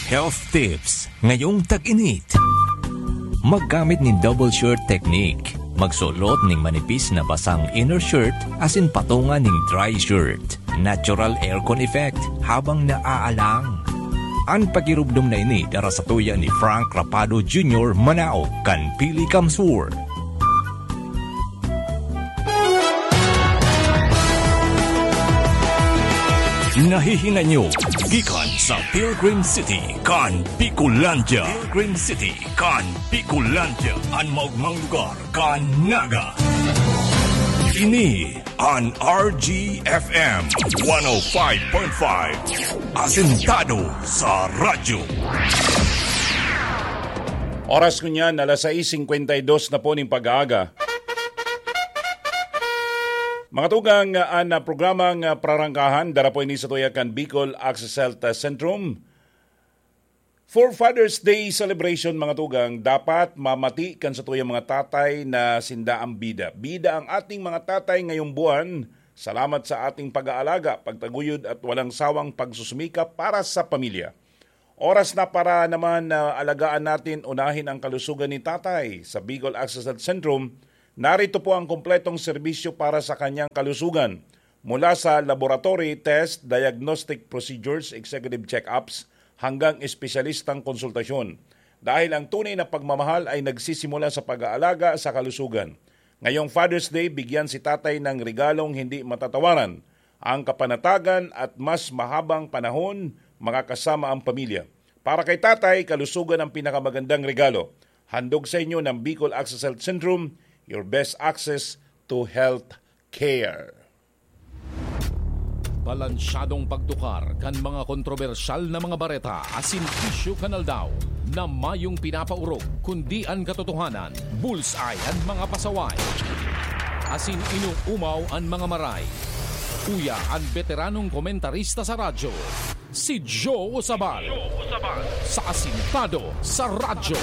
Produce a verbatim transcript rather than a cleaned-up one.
Health tips ngayong tag-init. Maggamit nin double shirt technique. Magsulot ning manipis na basang inner shirt asin patunga ning dry shirt. Natural aircon effect habang naaalang. An pakirumdom na ini dara sa tuya ni Frank Rapado Junior, Manao, kan Pili Kamsur. Nahihinay nyo gikan sa Pilgrim City kan Bicolandia. Pilgrim City kan Bicolandia, an maogmang lugar kan Naga. Ini an R G F M one oh five point five, asentado sa radyo. Oras ko niyan, alas sais singkwenta y dos na po ning pag-aaga. Mga tugang, an, ah, programang, ah, prarangkahan, dara po ini sa tuya kan Bicol Access Health, ah, Centrum. For Father's Day celebration, mga tugang, dapat mamati kan sa tuyang mga tatay na sinda ang bida. Bida ang ating mga tatay ngayong buwan. Salamat sa ating pag-aalaga, pagtaguyod at walang sawang pagsusumikap para sa pamilya. Oras na para naman na alagaan natin unahin ang kalusugan ni tatay. Sa Bicol Access Health Centrum, narito po ang kompletong serbisyo para sa kanyang kalusugan. Mula sa laboratory test, diagnostic procedures, executive check-ups, hanggang espesyalistang konsultasyon. Dahil ang tunay na pagmamahal ay nagsisimula sa pag-aalaga sa kalusugan. Ngayong Father's Day, bigyan si tatay ng regalong hindi matatawaran, ang kapanatagan at mas mahabang panahon makakasama ang pamilya. Para kay tatay, kalusugan ang pinakamagandang regalo. Handog sa inyo ng Bicol Access Health Centrum, your best access to health care. Balansyadong pagtukar kan mga kontrobersyal na mga bareta asin isyu kan aldaw na mayong pinapaorog, kundi an katotohanan, bullseye an mga pasaway, asin inuumaw an mga maray. Uya an beteranong komentarista sa radyo, si Joe Sabal, sa Asintado sa Radyo.